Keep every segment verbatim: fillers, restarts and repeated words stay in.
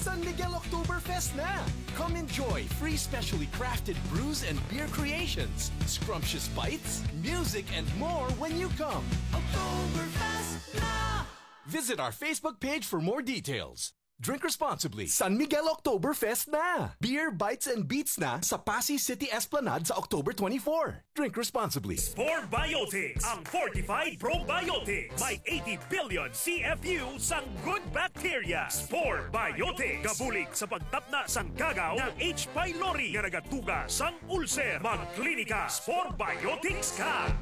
San Miguel Oktoberfest na! Come enjoy free specially crafted brews and beer creations, scrumptious bites, music, and more when you come. Oktoberfest na! Visit our Facebook page for more details. Drink responsibly. San Miguel Oktoberfest na! Beer, bites, and beats na sa Passi City Esplanade sa October twenty-four. Drink responsibly. Spore Biotics, ang fortified probiotics. May eighty billion C F U sang good bacteria. Spore Biotics, gabulig sa pagtapna sang gagaw nga H. pylori nga nagatuga sang ulcer. Magklinika Spore Biotics ka.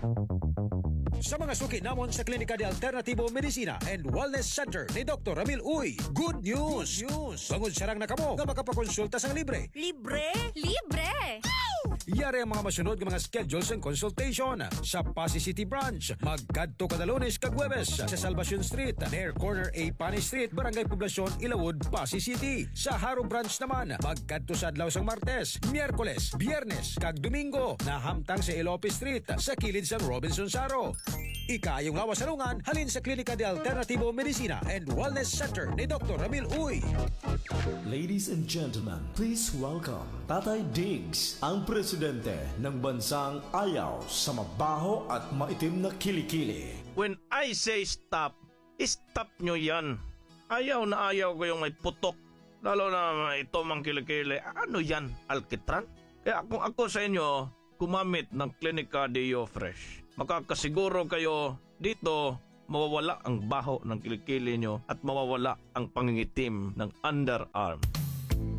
Sa mga suki namon sa Klinika de Alternativo Medicina and Wellness Center ni Doktor Ramil Uy, good news! Good news! Bangod sarang na kamo nga makapakonsulta sang libre. Libre? Libre! Yari ang mga masunod nga mga schedule sang consultation. Sa Passi City Branch, magkadto kada Lunes kag Huwebes sa Salvacion Street, near corner A Pani Street, Barangay Poblacion, Ilawod, Passi City. Sa Jaro Branch naman, magkadto sa adlaw sang Martes, Miyerkules, Biyernes, kag Domingo, nahamtang sa Elope Street, sa kilid sang Robinson Jaro. Ikaayong lawas sa lungan halin sa Klinika de Alternativo Medicina and Wellness Center ni Doktor Ramil Uy. Ladies and gentlemen, please welcome Tatay Diggs, ang presidente ng bansang ayaw sa mabaho at maitim na kilikili. When I say stop, stop nyo yan. Ayaw na ayaw ko yung may putok, lalo na ito mang kilikili. Ano yan, alkitran? Kaya kung ako sa inyo, gumamit ng Klinika Deo Fresh. Makakasiguro kayo dito, mawawala ang baho ng kilikili nyo at mawawala ang pangingitim ng underarm.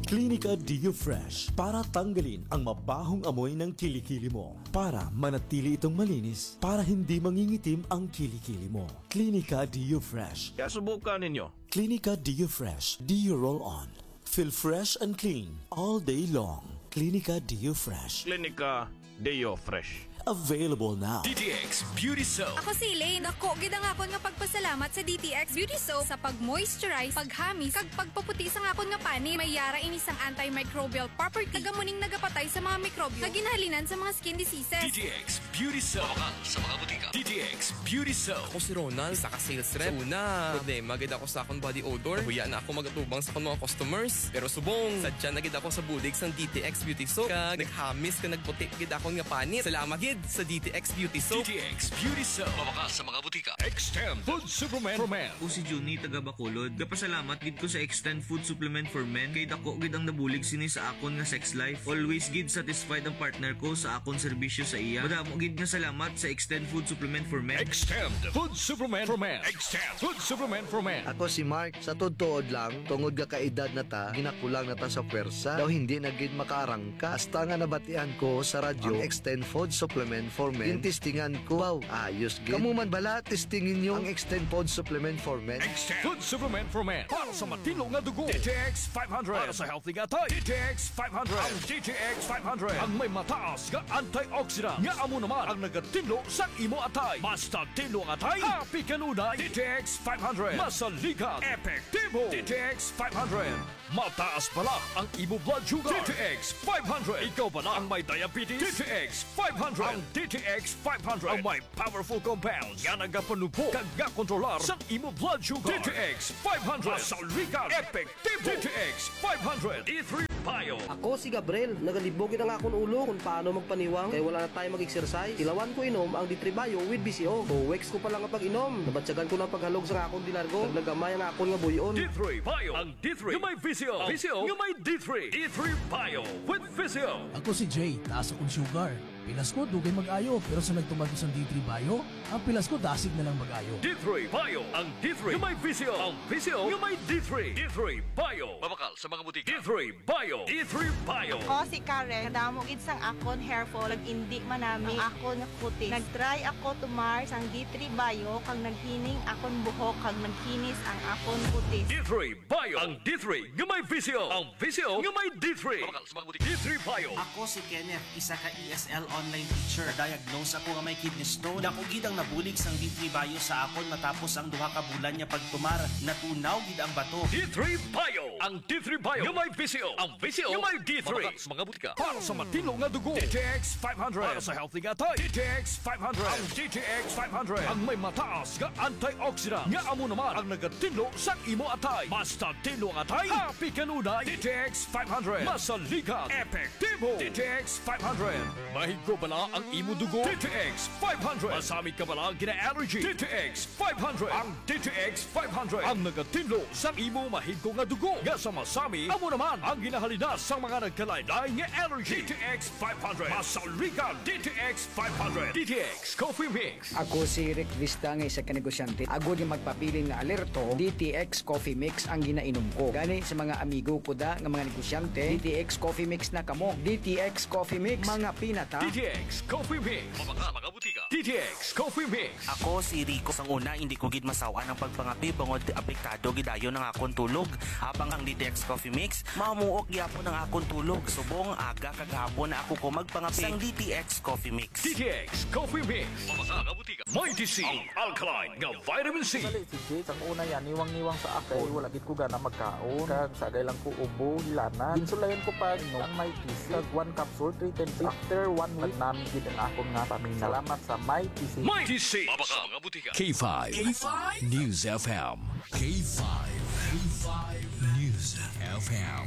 Klinika Deo Fresh para tanggalin ang mabahong amoy ng kilikili mo, para manatili itong malinis, para hindi mangingitim ang kilikili mo. Klinika Deo Fresh. Kaya subukan ninyo. Klinika Deo Fresh Deo Roll On. Feel fresh and clean all day long. Klinika Deo Fresh. Klinika Deo Fresh. Available now. D T X Beauty Soap. Ako si Elaine. Dako gid ang akon nga pagpasalamat sa D T X Beauty Soap sa pag-moisturize, paghamis, kag pagpaputi sang akon nga panit. May yara ini sang antimicrobial property. Taga mo ning nagapatay sa mga mikrobyo nga ginahalinan sa mga skin diseases. D T X Beauty Soap. Mabakal sa mga butika. D T X Beauty Soap. Ako si Ronald, isa ka sales rep. Sa una, problema gid ako sa akong body odor. Nahuya na ako magatubang sa akong mga customers. Pero subong, sadya na gid ako sa bulig sang D T X Beauty Soap. Kag naghamis kag nagputi gid akon nga panit. Salamat gid sa D T X Beauty Soap. D T X Beauty Soap. Mabakal sa mga butika. Extend Food Supplement for Men. Ako si Junie, taga Bacolod. Gapasalamat gid ko sa Extend Food Supplement for Men kay dako gid ang nabulig sini sa akon nga sex life. Always gid satisfied ang partner ko sa akon serbisyo sa iya. Madamo gid nga salamat sa Extend Food Supplement for Men. Extend Food Supplement for Men. Extend Food Supplement for Men. Ako si Mark. Sa tuod-tuod lang, tungod nga kaedad na ta, ginakulang na ta sa pwersa. Daw hindi na gid makaarangka. Hasta nga nabatian ko sa radyo ang Extend Food Supplement for Men, gintistingan ko. Wow, ayos gid. Kamo man bala, testingin nyo ang Extend Food Supplement for Men. Extend Food Supplement for Men. Para sa matinlo nga dugo, D T X five hundred. Para sa healthy nga atay, D T X five hundred. Ang D T X five hundred ang may mataas nga antioxidant nga amo naman ang nagatinlo sang imo atay. Basta tinlo ang atay, happy kanunay. D T X five hundred. Masaligan, epektibo. D T X five hundred. Mataas bala ang imo blood sugar. D T X five hundred. Ikaw bala ang may diabetes? D T X five hundred. Ang D T X five hundred ang may powerful compounds nga nagapanubo kag gakontrolar sang imo blood sugar. D T X five hundred. Masaligan, epektibo. D T X five hundred. D three Bio. Ako si Gabriel. Nagalibog gid ang akon ulo kung paano magpaniwang kay wala na tayo mag-exercise. Tilawan ko inom ang D three Bio with V C O. Two weeks ko pa lang nga pag-inom, nabatyagan ko na ang paghalog sa akon dilargo. Naglagamay ang akon nga buy-on. D three Bio. Ang D three nga may V C O. V C O nga may D three. D three Bio with V C O. Ako si Jay, taas akong sugar. Pilas ko, dugay mag-ayo, pero sa nagtumar ko sang D three Bio, ang pilas ko dasig na lang mag-ayo. D three Bio, ang D three nga may V C O, ang V C O nga may D three. D three Bio. Mabakal sa mga butika. D three Bio. D three Bio. Ako si Karen. Kadamo gid sang akon hair fall, nag-indi manami ang akon nga kutis. Nag-try ako tumar sang D three Bio, kag naghining akon buhok, kag nagkinis ang akon kutis. D three Bio. Ang D three nga may V C O. Ang V C O nga may D three. Mabakal sa mga butika. D three Bio. Ako si Kenneth, isa ka E S L online teacher. Na-diagnose ako nga may kidney stone. Dako gid ang nabulig sang D three Bio sa akon matapos ang duha ka bulan nga pagtumar. Natunaw gid ang bato. D three Bio. Ang D three Bio nga may V C O. Ang V C O nga may D three. Mabakal sa mga butika. Para sa matinlo nga dugo, D T X five hundred. Para sa healthy nga atay, D T X five hundred. Ang D T X five hundred ang may mataas nga antioxidant nga amo naman ang nagatinlo sa imo atay. Basta tinlo ang atay, happy kanunay. D T X five hundred. Masaligan, epektibo. D T X five hundred. Mahigko bala ang imo dugo? D T X five hundred. Masami ka bala gina-allergy? D T X five hundred. Ang D T X five hundred ang nagatinlo sa imo mahigko nga dugo nga sa masami, amo naman ang ginahalina sa mga nagkalain-lain nga allergy. D T X five hundred. Masaligan, D T X five hundred. D T X Coffee Mix. Ako si Rick Vista nga isa ka negosyante. Agod nga magpabilin nga alerto, D T X Coffee Mix ang ginainom ko. Gani sa mga amigo ko da nga mga negosyante, D T X Coffee Mix na kamo. D T X Coffee Mix, mga pinata. D T X Coffee Mix. Mabakal sa mga butika. D T X Coffee Mix. Ako si Rico. Sang una, hindi ko gid masawan ang pagpangapi bangod apektado gid dayon ang akon tulog. Habang ang D T X Coffee Mix, mamuok gyapon ang akon tulog. Subong aga kag hapon na ako ko magpangapi sang D T X Coffee Mix. D T X Coffee Mix. Mabakal sa mga butika. Mighty C, ang alkaline nga vitamin C. Sali si Jake, sang una yan, niwang-niwang sa akon. Wala gid ko gana magkaon. Kag sagay lang ko ubo, hilanat. Ginsulayan ko pa, no, ang Mighty C. Kag one capsule, three times. After one week, nami gid ang akon nga paminaw. Salamat sa Mighty C. Mighty C. Mabakal sa mga butika. K five K five News F M. K five, K five News F M.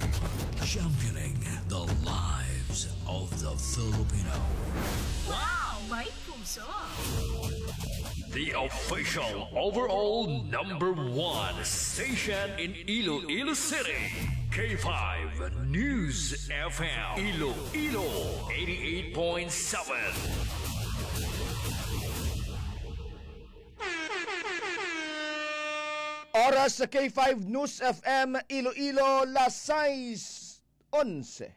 Championing the lives of the Filipino. Wow! May puso! The official overall number one station in Iloilo City. K five News F M. Iloilo, eighty-eight point seven. Oras sa K five News F M Iloilo, las sais onse.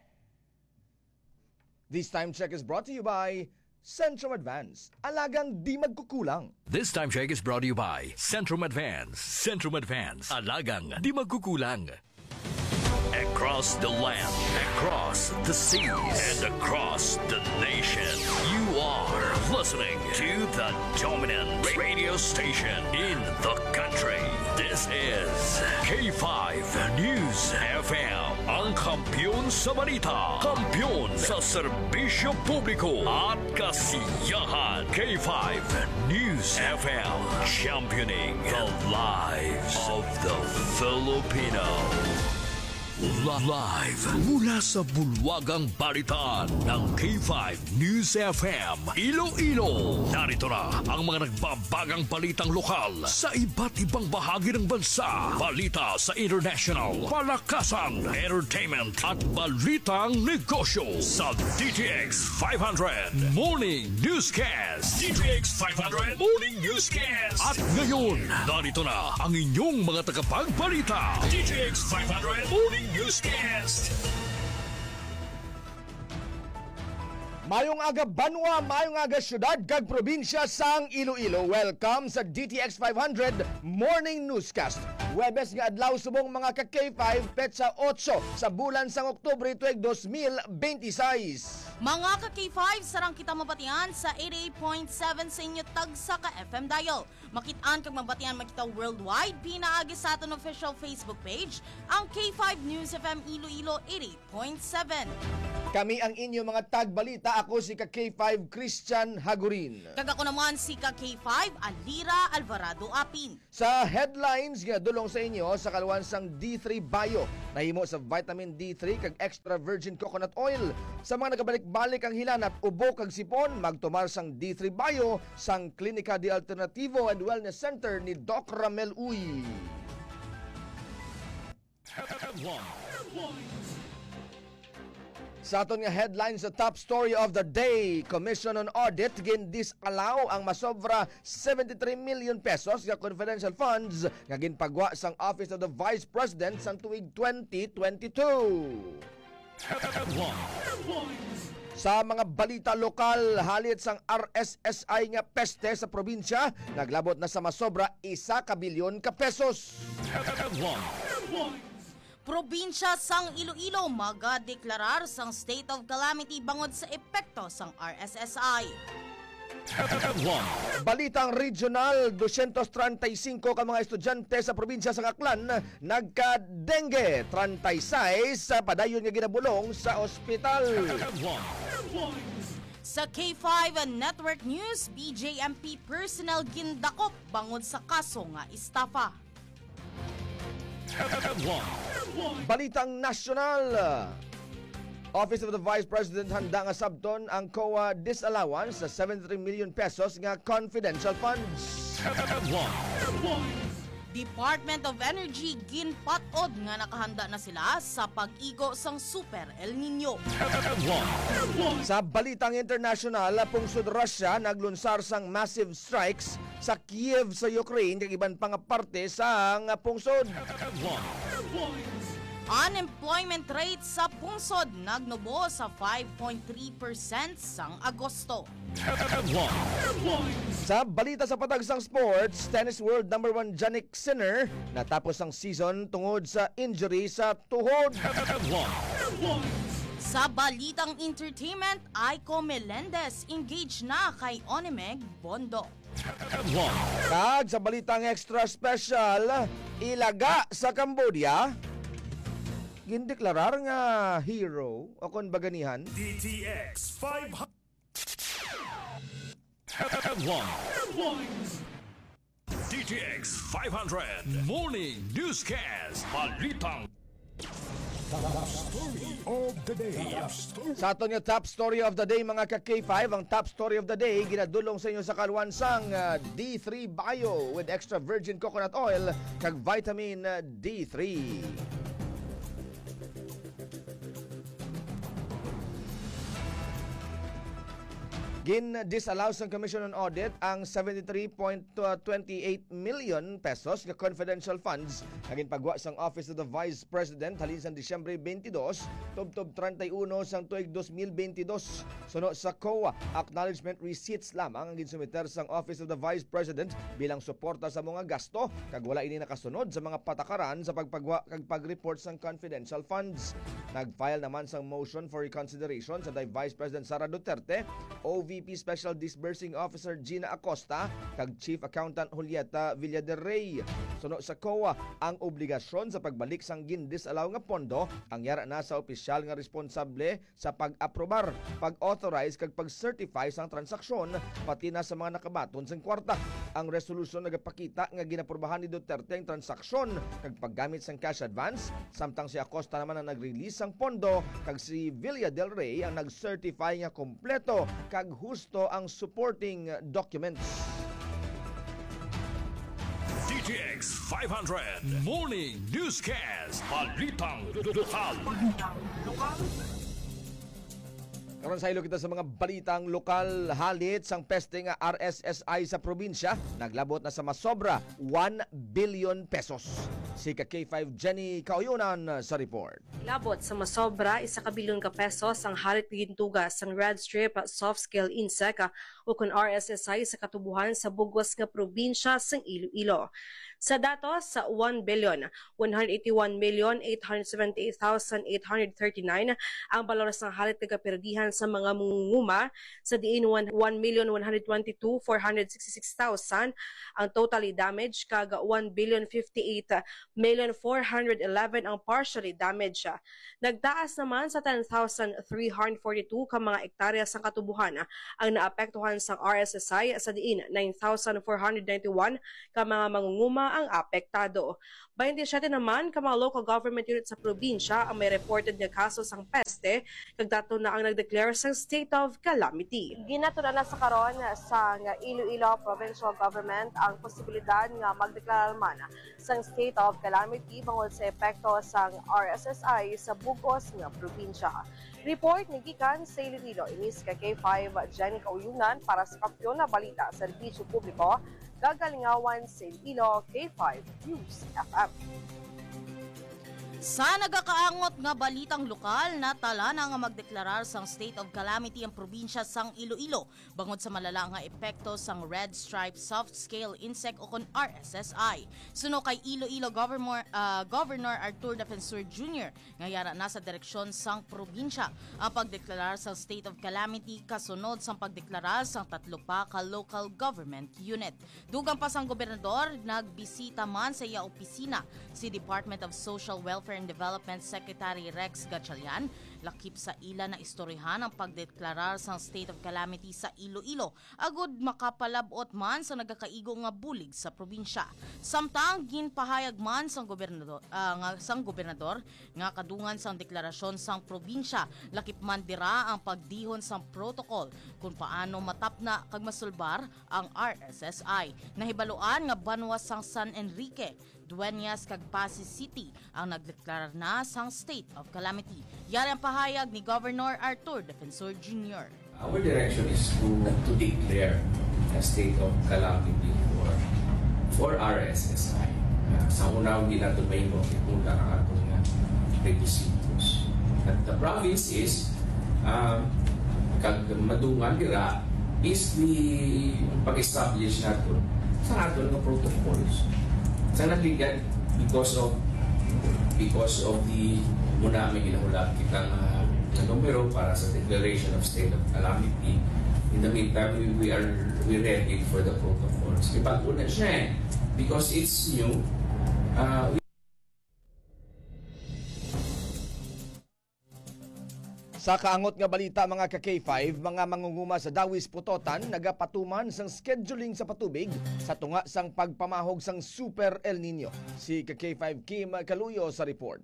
This time check is brought to you by Centrum Advance. Alagang di magkukulang. This time check is brought to you by Centrum Advance. Centrum Advance. Alagang di magkukulang. Across the land, across the seas, and across the nation, you are listening to the dominant radio station in the country. This is K five News F M, ang kampiyon sa balita, kampiyon sa serbisyo publiko at kasiyahan. K five News F M, championing the lives of the Filipino. Li-, live mula sa bulwagang balitaan ng K five News F M Iloilo. Narito na ang mga nagbabagang balitang lokal sa iba't ibang bahagi ng bansa. Balita sa international, palakasan, entertainment, at balitang negosyo sa D T X five hundred Morning Newscast. D T X five hundred Morning Newscast. At ngayon, narito na ang inyong mga tagapagbalita. D T X five hundred Morning Newscast. Mayong aga, banwa, mayong aga, syudad kag probinsya sang Iloilo. Welcome sa D T X five hundred Morning Newscast. Huwebes nga adlaw subong, mga ka K five, petsa otso sa bulan sang Oktubre tuig dos mil benti sais. Mga ka K five, sarang kita mabatian sa eighty-eight point seven sa inyo tagsa ka F M dial. Makit-an kag mabatian man kita worldwide pinaagi sa aton official Facebook page, ang K five News F M Iloilo eighty-eight point seven. Kami ang inyo mga tagbalita. Ako si ka K five Christian Hagurin. Kag ako naman si ka K five Alira Alvarado Apin. Sa headlines nga dulong sa inyo, sa kaluan sang D three Bio, nahimo sa vitamin D three kag extra virgin coconut oil. Sa mga nagabalik-balik ang hilanat, ubo kag sipon, magtumar sang D three Bio sang Klinika de Alternativo and Wellness Center ni Doc Ramel Uy. Headlines. Sa aton nga headline sa top story of the day, Commission on Audit gin-disallow ang masobra seventy-three million pesos nga confidential funds nga ginpagwa sang Office of the Vice President sang tuig twenty twenty-two. Headlines. Sa mga balita lokal, halit sang R S S I nga peste sa probinsya, naglabot na sa masobra isa ka bilyon ka pesos. Headlines. Probinsya sang Iloilo magadeklarar sang state of calamity bangod sa epekto sang R S S I. Balitang regional, dosyentos treinta y cinco ka mga estudyante sa probinsya sang Aklan nagka-dengue, treinta y seis padayon nga ginabulong sa ospital. Sa K five Network News, B J M P personnel gindakop bangod sa kaso nga estafa. Balitang nasyonal. Office of the Vice President handa nga sabton ang COA disallowance sa seventy-three million pesos nga confidential funds. Department of Energy ginpat-od nga nakahanda na sila sa pag-igo sang Super El Nino. Sa balitang internasyonal, pungsod Russia naglunsar sang massive strikes sa Kiev sa Ukraine kag iban pa nga parte sang pungsod. Unemployment rate sa pungsod nagnubo sa five point three percent sang Agosto. Sa balita sa patag sang sports, tennis world number one Jannik Sinner natapos ang season tungod sa injury sa tuhod. Sa balitang entertainment, Aiko Melendez engaged na kay Onimeg Bondo. Kag sa balitang extra special, ilaga sa Cambodia gindeklarar nga hero o kon baganihan. D T X five hundred. D T X five hundred Morning Newscast. Balitang Top Story of the Day. Sa aton nga top story of the day, mga ka K five, ang top story of the day ginadulong sa inyo sa kaluan sang ah, D three Bio with extra virgin coconut oil kag vitamin ah, D three. Gin-disallow sang Commission on Audit ang seventy-three point twenty-eight million pesos nga confidential funds nga ginpagwa sang Office of the Vice President halin sang Disyembre twenty-two tubtob treinta y uno sang tuig dos mil bentidós. Suno sa COA, acknowledgement receipts lamang ang ginsumiter sang Office of the Vice President bilang suporta sa mga gasto, kag wala ini nakasunod sa mga patakaran sa pagpagwa kag pag-report sang confidential funds. Nag-file naman sang motion for reconsideration sa day Vice President Sara Duterte, O V P Special Disbursing Officer Gina Acosta, kag Chief Accountant Julieta Villaderrey. Suno sa COA, ang obligasyon sa pagbalik sang gin-disallow nga pondo ang yara na sa opisyal nga responsable sa pag-aprobar, pag-authorize kag pag-certify sang transaksyon, pati na sa mga nakabaton sang kwarta. Ang resolusyon nagapakita nga ginaprubahan ni Duterte ang transaksyon kag paggamit sang cash advance, samtang si Acosta naman ang nag-release sang pondo kag si Villaderrey ang nag-certify nga kompleto kag husto ang supporting documents. D T X five hundred Morning Newscast. Balitang lokal. Karon, saylo kita sa mga balitang lokal. Halit sang peste nga R S S I sa probinsya naglabot na sa masobra one billion pesos. Si ka K five Jenny Kauyunan sa report. Labot sa masobra isa ka bilyon ka pesos ang halit nga gintuga sang Red Strip Soft Scale Insect, ah, ukon R S S I, sa katubuhan sa bug-os nga probinsya sang Iloilo. Sa datos, sa one billion one hundred eighty-one million eight hundred seventy-eight thousand eight hundred thirty-nine ang balor sang halit nga gapirdihan sa mga mangunguma, sa diin one, one million one hundred twenty-two four hundred sixty-six thousand ang totally damaged, kag one billion fifty-eight million four hundred eleven ang partially damaged. Nagtaas naman sa ten thousand three hundred forty-two ka mga ektarya sang katubuhan ang naapektuhan sang R S S I, sa diin nine thousand four hundred ninety-one ka mga mangunguma ang apektado. Twenty-seven naman ka mga local government unit sa probinsya ang may reported nga kaso sang peste, kag tatlo na ang nagdeklara sang state of calamity. Ginatun-an na sa karon sang Iloilo Provincial Government ang posibilidad nga magdeklara man sang state of calamity bangod sa epekto sang R S S I sa bug-os nga probinsya. Report ni gikan sa Iloilo, ini si ka K five Jenny Kauyunan para sa Kampiyon na Balita, Serbisyo Publiko, kag Kalingawan sa Iloilo, K five News F M. Sa nagakaangot nga balitang lokal, natala na nga magdeklarar sang state of calamity ang probinsya sang Iloilo bangod sa malala nga epekto sang Red Stripe Soft Scale Insect o kon R S S I. Suno kay Iloilo Governor, ah, Governor Arthur Defensor Junior, nga yara na sa direksyon sang probinsya ang pagdeklarar sang state of calamity kasunod sang pagdeklarar sang tatlo pa ka local government unit. Dugang pa sang gobernador, nagbisita man sa iya opisina si Department of Social Welfare and Development Secretary Rex Gatchalian, lakip sa ila na istoryahan ang pagdeklarar sang state of calamity sa Iloilo, agud makapalab-ot man sa nagakaigo nga bulig sa probinsya. Samtang ginpahayag man sang gobernador, ah, nga, sang gobernador nga kadungan sang deklarasyon sang probinsya, lakip man dira ang pagdihon sang protocol kung paano matapna kag masulbar ang R S S I. Nahibaluan nga banwa sang San Enrique, Dueñas kag Passi City ang nagdeklarar na sang state of calamity. Yari ang pahayag ni Governor Arthur Defensor Junior. Our direction is to, to declare a state of calamity for, for R S S I. Uh, sa una, hindi nato mahimo kung ang aton nga requisitos. At the province is, uh, kag madungan dira is the pag-establish nato sa aton nga protocols. Sa nagligad, because of, because of the, muna may ginahulat kita nga, nga numero para sa declaration of state of calamity. In the meantime, we, we are, we ready for the protocols. Kay bago na siya eh. Because it's new, uh, we Sa kaangot nga balita, mga ka K five, mga mangunguma sa Dawis Pototan nagapatuman sang scheduling sa patubig sa tunga sang pagpamahog sang Super El Nino. Si ka K five Kim Kaluyo sa report.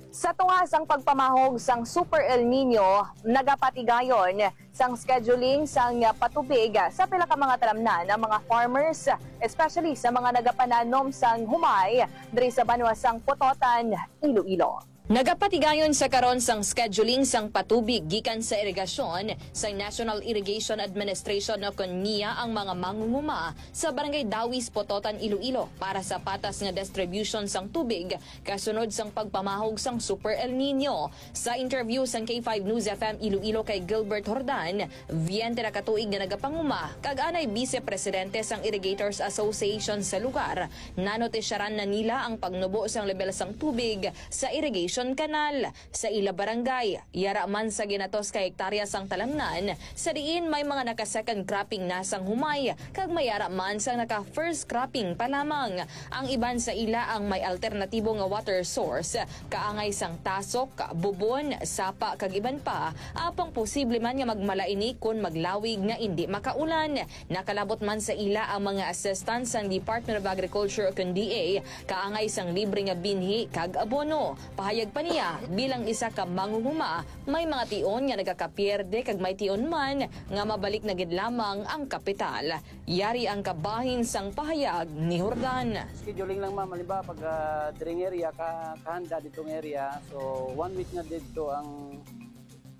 Sa tunga sang pagpamahog sang Super El Nino, nagapatigayon sang scheduling sang patubig sa pila ka mga talamnan ang mga farmers, especially sa mga nagapananom sang humay diri sa banwa sang Pototan, Iloilo. Nagapatigayon sa karon sang scheduling sang patubig gikan sa irigasyon sang National Irrigation Administration o kon NIA ang mga mangunguma sa Barangay Dawis, Pototan, Iloilo para sa patas nga distribution sang tubig kasunod sang pagpamahog sang Super El Nino. Sa interview sang K five News F M Iloilo kay Gilbert Jordan, biyente na ka tuig nga nagapanguma kag anay Vice Presidente sang Irrigators Association sa lugar, nanotisyaran na nila ang pagnubo sang lebel sang tubig sa irrigation canal sa ila barangay. Yara man sa ginatos ka hektarya sang talamnan, sa diin may mga naka-second cropping na sang humay, kag may ara man sang naka-first cropping pa lamang. Ang iban sa ila ang may alternatibo nga water source, kaangay sang tasok, bubon, sapa, kag iban pa, apang posible man nga magmala ini kon maglawig nga indi makaulan. Nakalabot man sa ila ang mga assistance sang Department of Agriculture o kon D A, kaangay sang libre nga binhi kag abono. Pahayag pa niya, bilang isa ka mangunguma, may mga tion nga nagakapierde kag may tion man nga mabalik na gid lamang ang kapital. Yari ang kabahin sang pahayag ni Jordan. Scheduling lang, ma'am. Halimbawa, pag, ah, dring area, ka-, kahanda ditong area. So, one week na dito ang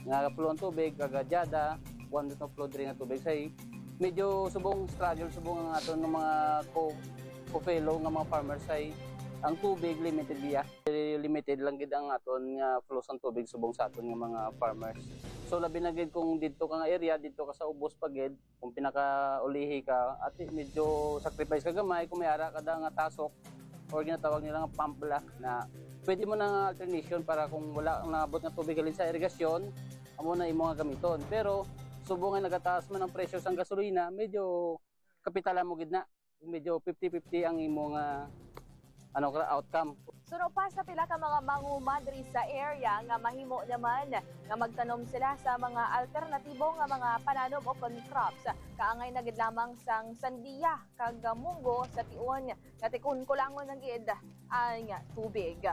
nga flow ang tubig, kag dyada, one week na flow diri nga tubig. Say, medyo subong struggle, subong ang aton nga mga co-, co-fellow nga mga farmers, say, ang tubig limited biya. Limited lang gid ang aton nga flow sang tubig subong sa aton nga mga farmers. So, labi na gid kung didto ka nga area, didto ka sa ubos pa gid, kung pinakaulihi ka, ati, medyo sacrifice ka gamay kung may ara ka da nga tasok or ginatawag nila nga pump bala na pwede mo na nga alternation para kung wala ang naabot nga tubig halin sa irigasyon, amo na imo nga gamiton. Pero subong nga nagataas man ang presyo sang gasolina, medyo kapitalan mo gid na. Medyo fifty fifty ang imo nga, ano, outcome. Suno pa sa pila ka mga manguma diri sa area nga mahimo naman nga magtanom sila sa mga alternatibo nga mga pananom o kon crops. Kaangay na gid lamang sang sandiya kag munggo sa tion nga tikon kulangon na gid ang tubig.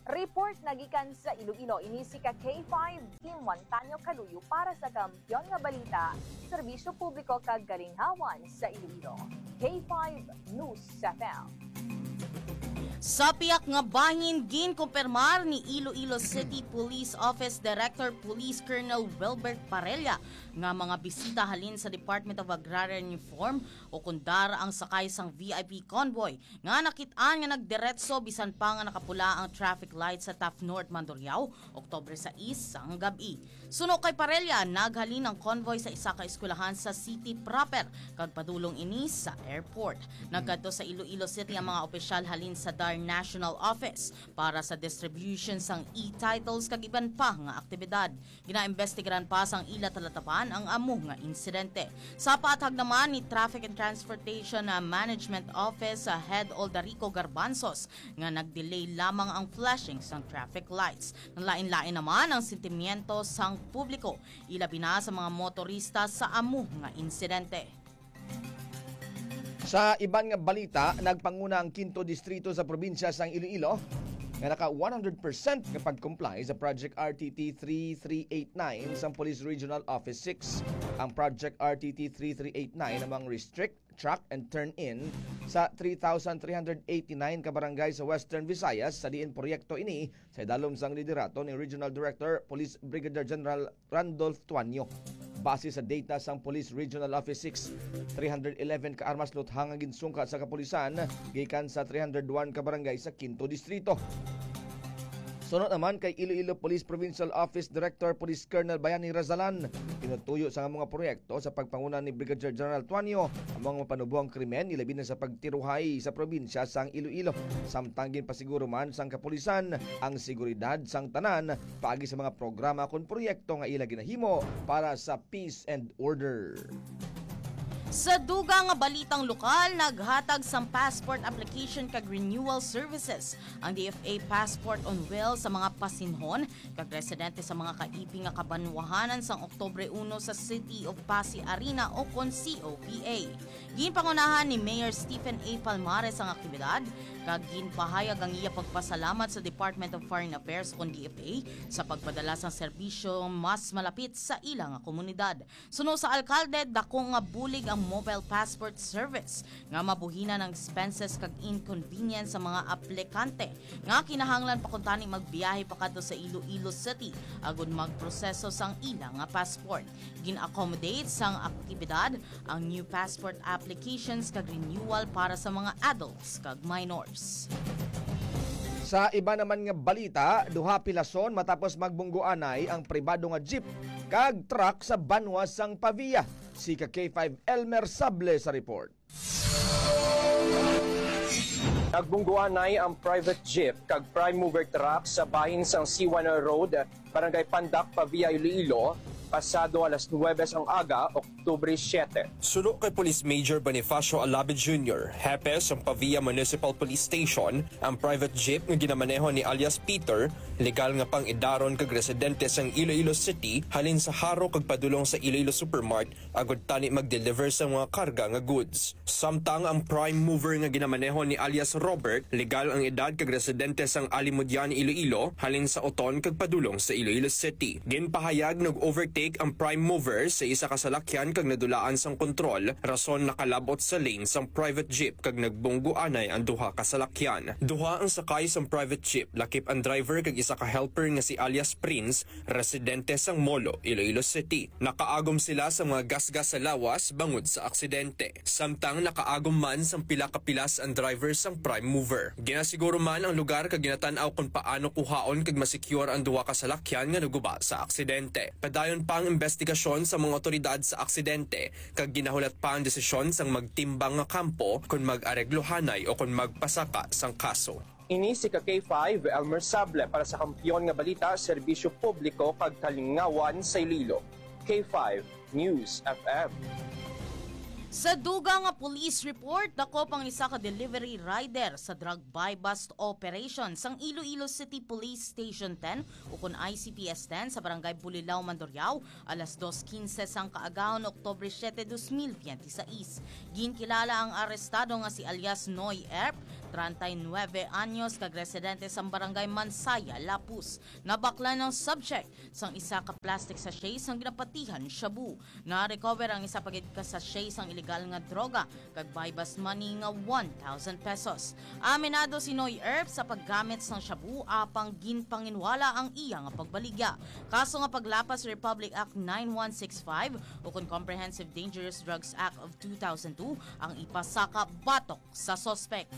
Report na gikan sa Iloilo, ini si ka K five Kim Montaño Kaluyo para sa Kampiyon nga Balita, Serbisyo Publiko kag Kalingawan sa Iloilo. K five News F M. Sa piyak nga bahin, ginkumpirmar ni Iloilo City Police Office Director Police Colonel Wilbert Parella nga mga bisita halin sa Department of Agrarian Reform o kundar ang sakay sang V I P convoy nga nakit-an nga nagdiretso bisan pa nga nakapula ang traffic light sa Taft North, Mandurriao, Oktubre sais sang gab-i. Suno kay Parella, naghalin ang convoy sa isa ka eskwelahan sa city proper kag padulong ini sa airport. Nagkadto sa Iloilo City ang mga opisyal halin sa DAR National Office para sa distribution sang e-titles kag iban pa nga aktibidad. Ginaimbestigaran pa sang ila talatapan ang amo nga insidente. Sa paathag naman ni Traffic and Transportation, ah, Management Office, ah, Head Aldarico Garbanzos nga nag-delay lamang ang flashing sang traffic lights. Nalain-lain naman ang sentimiento sang publiko, ilabi na sa mga motorista sa amo nga insidente. Sa iban nga balita, nagpanguna ang Kinto Distrito sa probinsya sang Iloilo nga naka one hundred percent nga pag-comply sa Project R T T three three eight nine sang Police Regional Office six. Ang Project R T T three three eight nine namang restrict track and turn in sa three thousand three hundred eighty-nine ka barangay sa Western Visayas, sa diin proyekto ini sa idalom sang liderato ni Regional Director Police Brigadier General Randolph Tuanyo. Base sa data sang Police Regional Office six, three hundred eleven ka armas lutha nga ginsungka sa kapulisan gikan sa three hundred one ka barangay sa Kinto Distrito. Suno naman kay Iloilo Police Provincial Office Director Police Colonel Bayani Razalan, tinutuyo sa mga proyekto sa pagpanguna ni Brigadier General Tuanyo ang mga mapanubo ang krimen, ilabi na sa pagtiruhay sa probinsya sang Iloilo. Samtang ginpasiguro man sang kapulisan ang seguridad sang tanan paagi sa mga programa kon proyekto nga ila ginahimo para sa peace and order. Sa dugang nga balitang lokal, naghatag sang passport application kag renewal services ang D F A Passport on Wheels sa mga pasinhon kag residente sa mga kaipi nga kabanwahanan sang Oktubre uno sa City of Pasi Arena o kon C O P A. Ginpangunahan ni Mayor Stephen A. Palmares ang aktibidad, kag ginpahayag ang iya pagpasalamat sa Department of Foreign Affairs o kon D F A sa pagpadala sang serbisyo mas malapit sa ila nga komunidad. Suno sa alkalde, dako nga bulig ang mobile passport service nga mabuhinan ang expenses kag inconvenience sa mga aplikante nga kinahanglan pa kuntani magbiyahe pakadto sa Iloilo City agud magproseso sang ila nga passport. Gin-accommodate sang aktibidad ang new passport applications kag renewal para sa mga adults kag minors. Sa iba naman nga balita, duha pilason matapos magbunggoanay ang pribado nga jeep kag truck sa banwa sang Pavia. Si ka K five Elmer Sable sa report. Nagbunggoanay ang private jeep kag prime mover truck sa bahin sang C one Road, Barangay Pandak, Pavia, Iloilo, pasado alas nuwebe sang aga, Oktubre siyete. Suno kay Police Major Bonifacio Alabe Junior, hepe sang Pavia Municipal Police Station, ang private jeep nga ginamaneho ni alias Peter, legal nga pang-idaron kag residente sang Iloilo City, halin sa Jaro kag padulong sa Iloilo Supermart, agud tani mag-deliver sa mga karga nga goods. Samtang ang prime mover nga ginamaneho ni alias Robert, legal ang edad kag residente sang Alimodian, Iloilo, halin sa Oton kag padulong sa Iloilo City. Ginpahayag nag-overtake ang prime mover sa isa ka salakyan kag nadulaan sang kontrol, rason nakalabot sa lane sang private jeep kag nagbunggoanay ang duha ka salakyan. Duha ang sakay sang private jeep, lakip ang driver kag isa ka helper nga si alias Prince, residente sang Molo, Iloilo City. Nakaagom sila sa mga gasgas sa lawas bangod sa aksidente. Samtang nakaagom man sang pila ka pilas ang driver sang prime mover. Ginasiguro man ang lugar kag ginatan-aw kon paano kuhaon kag ma-secure ang duha ka salakyan nga naguba sa aksidente. Padayon pa ang imbestigasyon sa mga awtoridad sa aksidente, kag ginahulat pa ang desisyon sang magtimbang nga kampo kon mag-areglohanay o kon magpasaka sang kaso. Ini si ka K five, Elmer Sable, para sa Kampiyon nga Balita, Serbisyo Publiko kag Kalingawan sa Iloilo. K five News F M. Sa dugang nga police report, dakop ang isa ka delivery rider sa drug buy-bust operation sang Iloilo City Police Station ten, ukon I C P S ten, sa Barangay Bulilao, Mandurriao, alas dos quince sang kaagahon, Oktubre siete, dos mil veintiséis. Ginkilala ang arestado nga si alias Noy Erp, treinta y nueve anyos, kag residente sang Barangay Mansaya, Lapus. Nabaklan ang subject sang isa ka plastic sachet sang ginapatihan shabu. Na-recover ang isa pa gid ka sachet sang iligal nga droga kag buy-bust money nga one thousand pesos. Aminado si Noy Erp sa paggamit sang shabu, apang ginpanginwala ang iya nga pagbaligya. Kaso nga paglapas Republic Act nine one six five ukon Comprehensive Dangerous Drugs Act of two thousand two ang ipasaka batok sa suspek.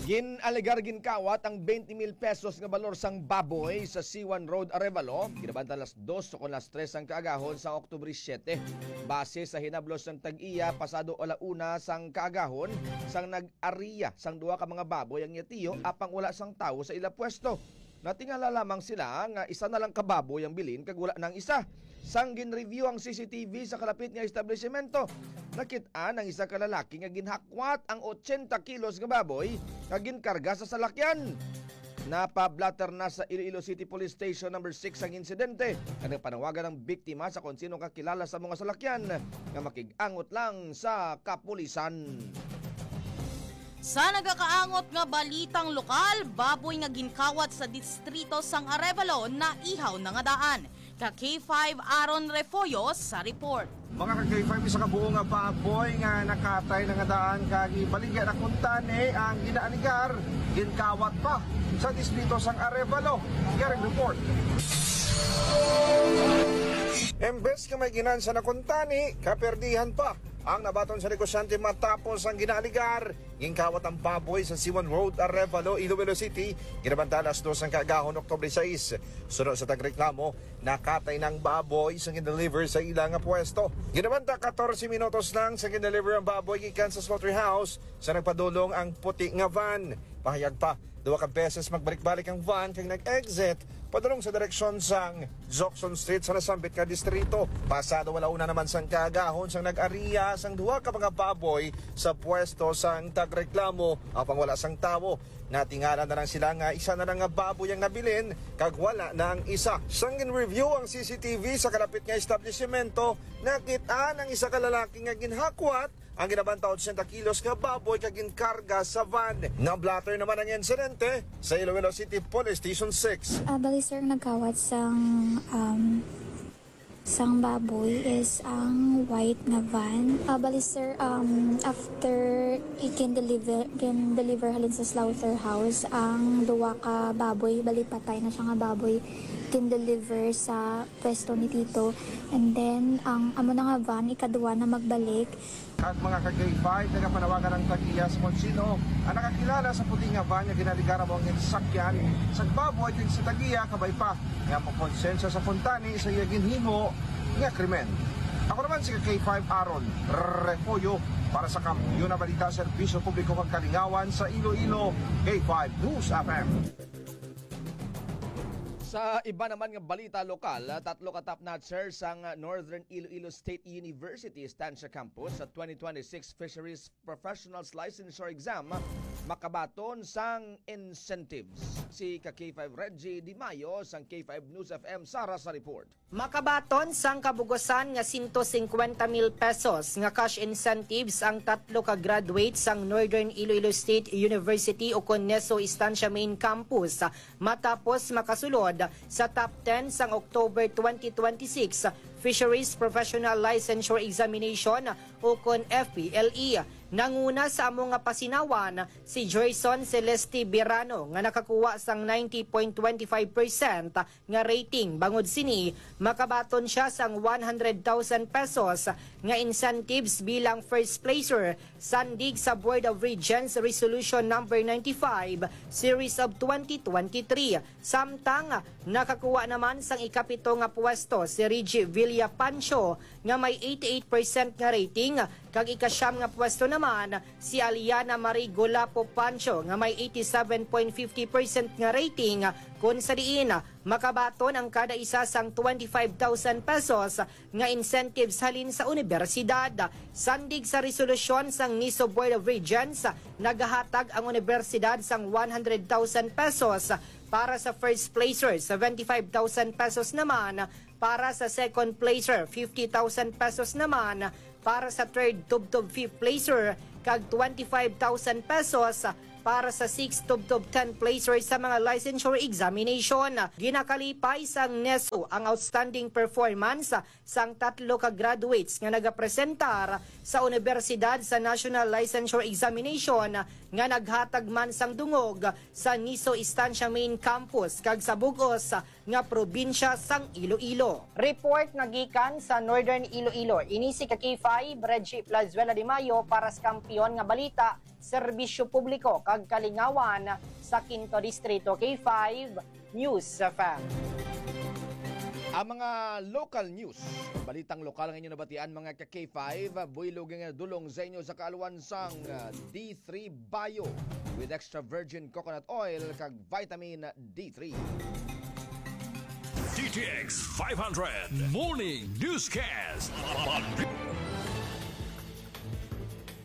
Gin-alegar ginkawat ang twenty mil pesos nga balor sang baboy sa C one Road, Arevalo, ginabanta alas dos o kon alas tres sang kaagahon sa Oktubre siete. Base sa hinablos sang tag-iya, pasado ala una sang kaagahon sang nag-ariya sang duha ka mga baboy ang iya tiyo, apang wala sang tawo sa ila pwesto. Natingala lamang sila nga isa na lang ka baboy ang bilin kag wala na ang isa. Sang gin-review ang C C T V sa kalapit nga establisimento, nakit-an ang isa ka lalaki nga ginhakwat ang ochenta kilos nga baboy nga ginkarga sa salakyan. Napa-blotter na sa Iloilo City Police Station Number six ang insidente, kag nagpanawagan ang biktima sa kon sino kakilala sa mga salakyan nga makig-angot lang sa kapulisan. Sa nagakaangot nga balitang lokal, baboy nga ginkawat sa distrito sang Arevalo naihaw na nga daan. Ka K five Aaron Refollo sa report. Mga ka K five, isa ka buo nga baboy nga nakatay na nga daan kag ibaligya na kuntani ang ginaaligar ginkawat pa sa distrito sang Arevalo. Yaring report. Embes nga may ginansa na kuntani, kaperdihan pa ang nabaton sa negosyante matapos ang ginaaligar. Ginkawat ang baboy sa Siwan Road, Arevalo, Iloilo City, ginabanta alas dos sang kaagahon, Oktubre sais. Suno sa tagreklamo, nakatay na ang baboy sa gin-deliver sa ila nga pwesto. Ginabanta katorse minutos lang sa gin-deliver ang baboy gikan sa slaughterhouse sa nagpadulong ang puti nga van. Pahayag pa, duha ka beses magbalik-balik ang van kag nag-exit padulong sa direksyon sang Jockson Street sa nasambit nga distrito. Pasado wala una naman sang kaagahon sang nag-ariya sang duha ka mga baboy sa pwesto sang tagreklamo, apang wala sang tawo. Natingala na lang sila nga isa na lang nga baboy ang nabilin kag wala na ang isa. Sang gin-review ang C C T V sa kalapit nga establisimento, nakit-an ang isa ka lalaki nga ginhakwat ang ginabanta ochenta kilos nga baboy kag ginkarga sa van. Na-blotter naman ang insidente sa Iloilo City Police Station six. Ah, bali, sir, nagkawat sang, um, sang baboy is ang white nga van. Ah, bali, sir, um, after ikin-deliver, gin-deliver halin sa slaughterhouse ang duwa ka baboy, bali patay na siya nga baboy, gin-deliver sa pwesto ni Tito. And then, ang amo na nga van, ikaduwa na magbalik. Kag mga ka K five, nagapanawagan ang tag-iya sa konsino ang nakakilala sa puti nga van nga ginaligara mo ang insakyan sa baboy kag sa tag-iya, kabay pa nga makonsensya sa kuntani sa iya ginhimo nga krimen. Ako naman si K five Aaron Refollo para sa Kampiyon na Balita, Serbisyo Publiko kag Kalingawan sa Iloilo, K five News F M. Sa iba naman nga balita lokal, tatlo ka top notcher sang Northern Iloilo State University Estancia Campus sa twenty twenty-six Fisheries Professionals Licensure Exam makabaton sang incentives. Si ka K five Reggie Di Mayo sang K five News F M Sara sa report. Makabaton sang kabugusan nga sento singkwenta mil pesos nga cash incentives ang tatlo ka graduates sang Northern Iloilo State University ukon neso Estancia Main Campus matapos makasulod sa top ten sang October twenty twenty-six Fisheries Professional Licensure Examination ukon F P L E. Nanguna sa amo nga pasinawan si Joyson Celeste Birano nga nakakuha sang ninety point twenty five percent nga rating. Bangod sini, makabaton sia sang one hundred thousand pesos nga incentives bilang first placer sandig sa Board of Regents Resolution Number ninety-five, Series of twenty twenty-three. Samtang, nakakuha naman sang ikapito nga pwesto si Reggie Villa Pancho nga may eighty-eight percent nga rating, kag ikasyam nga pwesto naman si Aliana Marie Golapo Pancho nga may eighty-seven point fifty percent nga rating, kun sa diin makabaton ang kada isa sang twenty-five thousand pesos nga incentives halin sa unibersidad. Sandig sa resolusyon sang neso Board of Regents, nagahatag ang unibersidad sang one hundred thousand pesos para sa first placer, seventy-five thousand pesos naman para sa second placer, fifty thousand pesos naman para sa third tubtob fifth placer, kag twenty-five thousand pesos para sa six tubtob ten placers sa mga licensure examination. Ginakalipay sang neso ang outstanding performance sang tatlo ka graduates nga nagapresentar sa Unibersidad sa National Licensure Examination nga naghatag man sang dungog sa neso Estancia Main Campus kag sa bug-os nga probinsya sang Iloilo. Report nga gikan sa Northern Iloilo, ini si ka K five, Reggie Plazuela de Mayo, para sa Kampiyon nga Balita, Serbisyo Publiko kag Kalingawan sa Quinto Distrito, K five News F M. Ang mga local news, balitang lokal nga inyo nabatian, mga ka K five, buylog nga dulong sa inyo sa kaalwan sang, ah, D three Bio with extra virgin coconut oil kag vitamin D three. D T X five hundred Morning Newscast.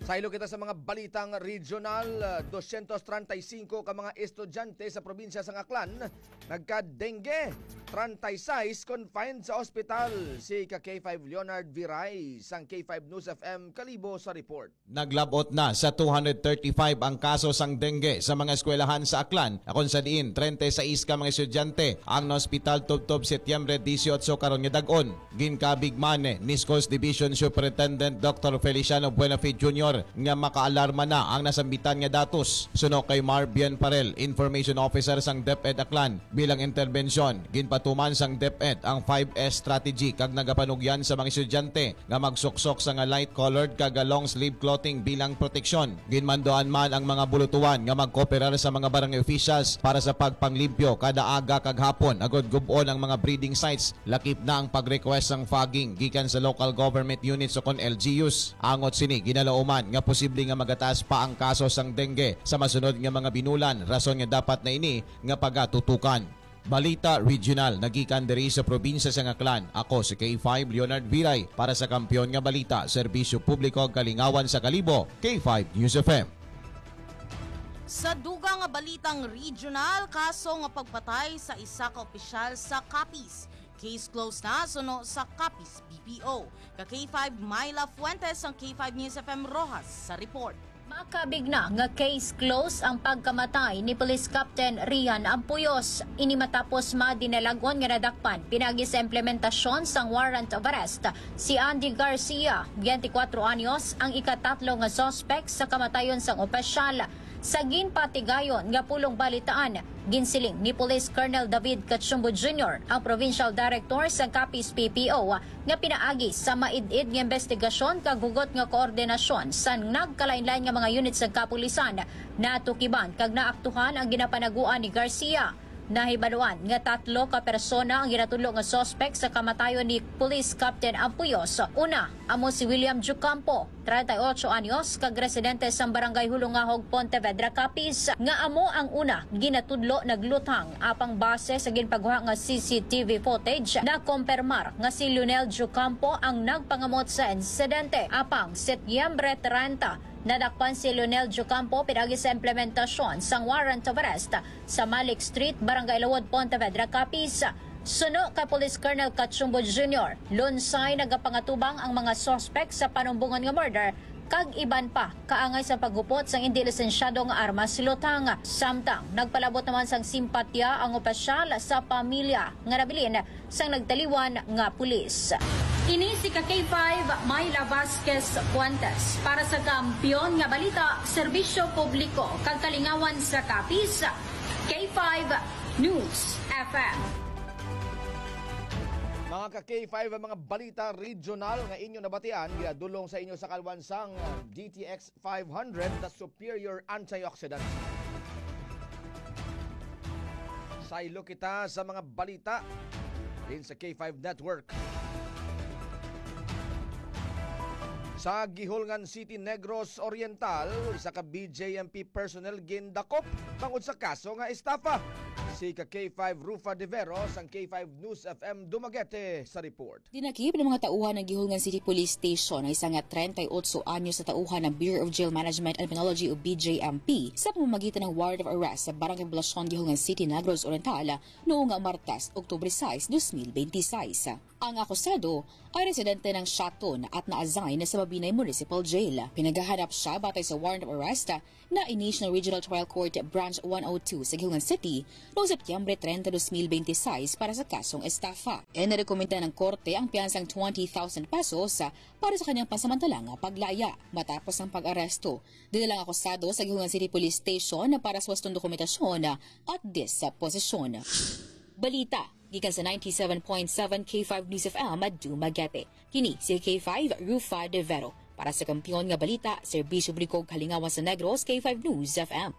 Saylo kita sa mga balitang regional. Dosyentos treinta y cinco ka mga estudyante sa probinsya sang Aklan nagka-dengue. Treinta y seis confined sa ospital. Si ka K five Leonard Viray sang K five News F M Kalibo sa report. Naglab-ot na sa two hundred thirty-five ang kaso sang dengue sa mga eskwelahan sa Aklan, akon sa diin treinta y seis ka mga estudyante ang naospital tubtob Setyembre dieciocho karon nga dag-on. Ginkabig man ni Schools Division Superintendent Doctor Feliciano Buenafide Junior nga makaalarma na ang nasambitan nga datos. Suno kay Mar Bien Parel, Information Officer sang DepEd Aklan, bilang interbensyon, ginpatuman sang DepEd ang five S strategy kag nagapanugyan sa mga estudyante nga magsuksok sa nga light-colored kag long sleeve clothing bilang proteksyon. Ginmanduan man ang mga bulutuan nga magkooperar sa mga barangay officials para sa pagpanglimpyo kada aga kag hapon, agod gub-on ang mga breeding sites, lakip na ang pag-request sang fogging gikan sa local government units o kon L G Us. Angot sini, ginalauman nga posible nga magataas pa ang kaso sang dengue sa masunod nga mga binulan, rason nga dapat na ini nga pagatutukan. Balita Regional nagikan diri sa probinsya sang Aklan. Ako si K five Leonard Viray para sa Kampiyon nga Balita, Serbisyo Publiko ug Kalingawan sa Kalibo, K five News F M. Sa dugang nga balitang regional, kaso nga pagpatay sa isa ka opisyal sa Capiz. Case closed na suno sa Capiz P P O. Ka K five, Myla Fuentes, ang K five News F M Roxas sa report. Makabig na nga case close ang pagkamatay ni Police Captain Rian Ampuyos. Ini matapos madinalag-on nga nadakpan pinaagi sa implementasyon sang warrant of arrest si Andy Garcia, twenty-four anyos, ang ikatatlo nga suspek sa kamatayon sang opisyal. Sa ginpatigayon nga pulong balitaan, ginsiling ni Police Colonel David Cachumbo Junior, ang Provincial Director sa Capiz P P O, nga pinaagi sa maid-id nga investigasyon kag hugot nga koordinasyon sa nagkalain-lain nga mga unit sa kapulisan, natukiban kag naaktuhan ang ginapanaguan ni Garcia. Nahibaluan nga tatlo ka persona ang ginatudlo nga suspek sa kamatayon ni Police Captain Ampuyos. Una, amo si William Jucampo, treinta y ocho anyos, kag residente sa Barangay Hulungahog, Pontevedra, Capiz, nga amo ang una ginatudlo nagluthang, apang base sa ginpaguha nga C C T V footage, nakompermar nga si Lionel Jucampo ang nagpangamot sa insidente. Apang Setyembre treinta, nadakpan si Lionel Jucampo pinaagi sa implementasyon sang warrant of arrest sa Malik Street, Barangay Lawod, Pontevedra, Capiz. Suno kay Police Colonel Cachumbo Junior, lunsay nagapangatubang ang mga suspek sa panumbongon nga murder kag iban pa kaangay sa paghupot sang indi lisensyado nga armas luthang. Samtang nagpalabot naman sang simpatya ang opisyal sa pamilya nga nabilin sang nagtaliwan nga pulis. Ini si ka K five, Myla Vasquez Fuentes, para sa Kampiyon nga Balita, Serbisyo Publiko kag Kalingawan sa Capiz, K five News F M. Mga ka K five, ang mga balita regional nga inyo nabatian, ginadulong sa inyo sa kaalwan sang D T X five hundred, the superior antioxidant. Saylo kita sa mga balita din sa K five Network. Sa Guihulngan City, Negros Oriental, isa ka B J M P personnel gindakop tungod sa kaso nga estafa. Si ka K five Rufa De Vero sang K five News F M Dumaguete sa report. Dinakip ng mga tauhan ng Guihulngan City Police Station ang isa nga treinta y ocho anyos na tauhan ng Bureau of Jail Management and Penology o B J M P sa pamamagitan ng warrant of arrest sa Barangay Poblacion, Guihulngan City, Negros Oriental, noong nga Martes, Oktubre sais, dos mil benti sais. Ang akusado ay residente ng Shaton at na-assign sa Mabinay Municipal Jail. Pinaghahanap siya batay sa warrant of arrest na i-issue ng Regional Trial Court Branch one oh two sa Guihulngan City noong Setyembre treinta, dos mil benti sais para sa kasong estafa. Inirekomenda ng korte ang piyansang twenty thousand pesos para sa kanyang pansamantalang paglaya matapos ang pag-aresto. Dinala ang akusado sa Guihulngan City Police Station para sa wastong dokumentasyon at disposisyon. Balita gikan sa ninety-seven point seven K five News F M Dumaguete. Kini si K five Rufa De Vero. Para sa Kampiyon nga Balita, Serbisyo Publiko, Kalingawan sa Negros, K five News F M.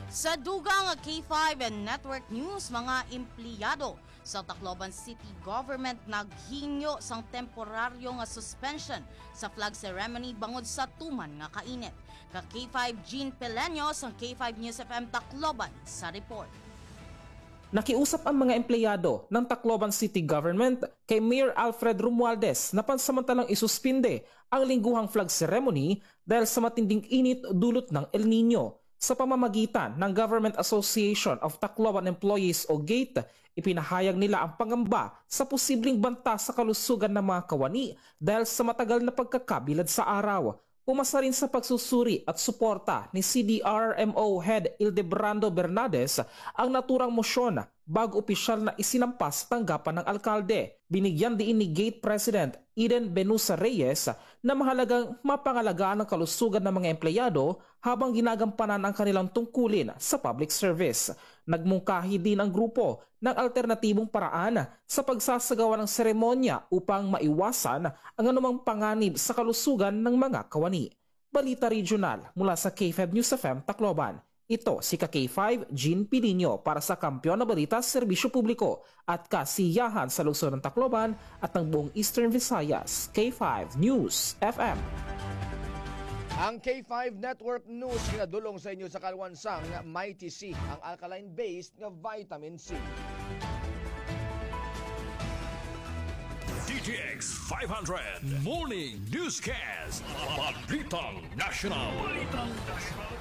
Sa dugang nga K five and Network News, mga empleyado sa Tacloban City Government naghingyo sang temporaryo nga suspension sa flag ceremony bangod sa tuman nga kainit. Ka K five Jean Peleño sang K five News F M Tacloban sa report. Nakiusap ang mga empleyado ng Tacloban City Government kay Mayor Alfred Romualdez na pansamantalang isuspinde ang lingguhang flag ceremony dahil sa matinding init dulot ng El Nino. Sa pamamagitan ng Government Association of Tacloban Employees o gate, ipinahayag nila ang pangamba sa posibleng banta sa kalusugan ng mga kawani dahil sa matagal na pagkakabilad sa araw. Pumasa rin sa pagsusuri at suporta ni C D R M O Head Ildebrando Bernades ang naturang mosyon bago opisyal na isinampa sa tanggapan ng alkalde. Binigyan diin ni Gate President Eden Benusa Reyes na mahalagang mapangalagaan ang kalusugan ng mga empleyado habang ginagampanan ang kanilang tungkulin sa public service. Nagmungkahi din ang grupo ng alternatibong paraan sa pagsasagawa ng seremonya upang maiwasan ang anumang panganib sa kalusugan ng mga kawani. Balita Regional mula sa K five News F M Tacloban. Ito si ka K five Jean Pilinio para sa Kampiyon na Balita, Serbisyo Publiko at Kasiyahan sa Lungsod ng Tacloban at ng buong Eastern Visayas. K five News F M. Ang K five Network News ginadulong sa inyo sa kalwan sang Mighty C, ang alkaline-based nga vitamin C. D T X five hundred Morning Newscast. Balitang National. Balitang National.